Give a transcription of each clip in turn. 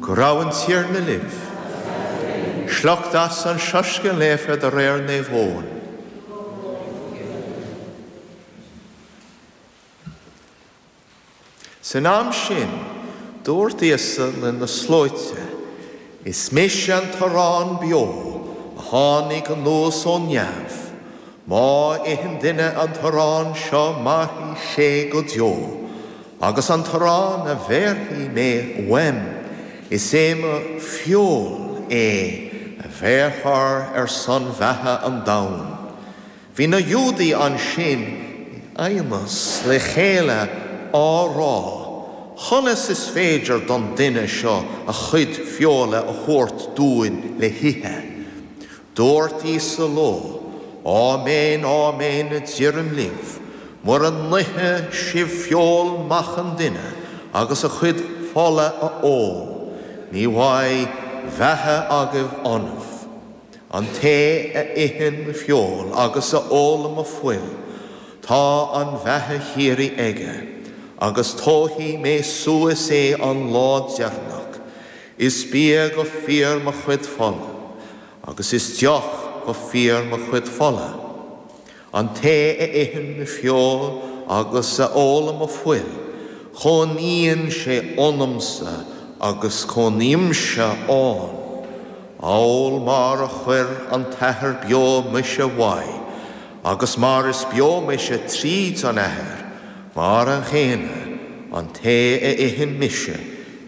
Go raibh an Tiarna libh. Sliocht as an Soiscéal Naofa de réir Naomh Eoin. San am sin, dúirt Íosa le na slóite, Is mise an t-arán beo a tháinig anuas ó neamh. Má itheann duine an t-arán seo mairfidh sé go deo, agus an t-arán a bhéarfaidh mé uaim, is é mo fheoil é a bhéarfar ar son bheatha an domhain. Bhí na Iúdaigh ansin in aighneas le chéile á rá, Conas is féidir don duine seo a chuid feola a thabhairt dúinn le hithe? Dúirt Íosa leo, Áiméan, áiméan, a deirim libh, mura n-ithe sibh feoil Mhac an Duine agus a chuid fola a ól, ní bheidh beatha agaibh ionaibh. An té a itheann mo feoil agus a ólann mo fuil, tá an bheatha shíoraí aige, agus tógfaidh mé suas é an lá deireanach. Is bia go fíor mo chuid fola, agus is deoch go fíor mo chuid fola. An té a itheann mo feoil agus a ólann mo fuil, cónaíonn sé ionamsa agus cónaímse ann. Amhail mar a chuir an tAthair beo mise uaidh, agus mar is beo mise tríd an Athair, mar an gcéanna, an té a itheann mise,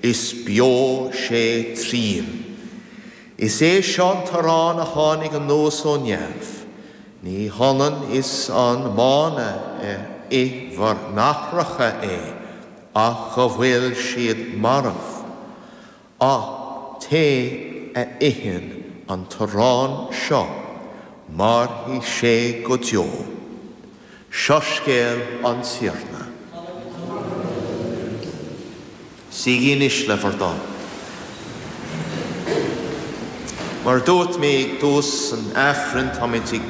is beo sé tríom. Is é seo an t-arán a tháinig anuas ó neamh. Ní hionann is an manna ar ith bhur n-aithreacha é, ach go bhfuil siad marbh. An té a itheann an t-arán seo, mairfidh sé go deo. Soiscéal an Tiarna. Suígí anois le bhur dtoil. Mar a dúirt mé ag tús an Aifrinn, táimid ag.